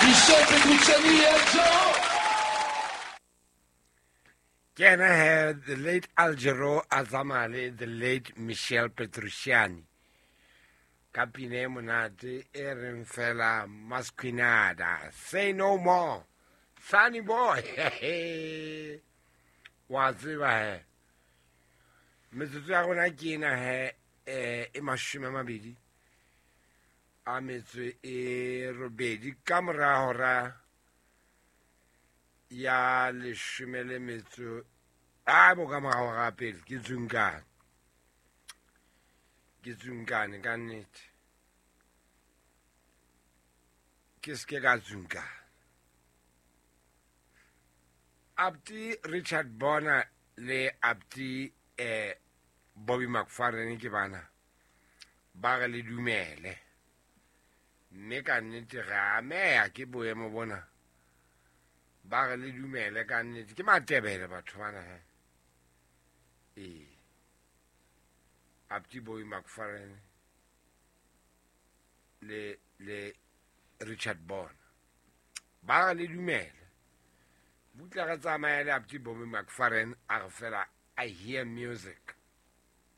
Michel Petrucciani et Al Jarreau. Ke ena he the late Al Jarreau a tsamaya le the late Michel Petrucciani ka pina e monate e reng fela Masquinada, Say No More, Sunny Boy. Wa tseba he metsotso ya rona ke ena he e 28 ka mora hora ya 18 a bo ka mora hora pele ke tsunkane, ke tsunkane ka nnete, ke seke ka tsunkana. Abdi Richard Bona le Abdi Bobby McFerrin ke bana ba re le dumele, mme ka nnete re ameha ke boemo bona. Ba re le dumele ka nnete, ke Matebele batho bana he. Ee, Abdi Bobby McFerrin le Richard Bona ba re le dumele. Butla re tsamaye le Abdi Bobby McFerrin a re fela I hear music.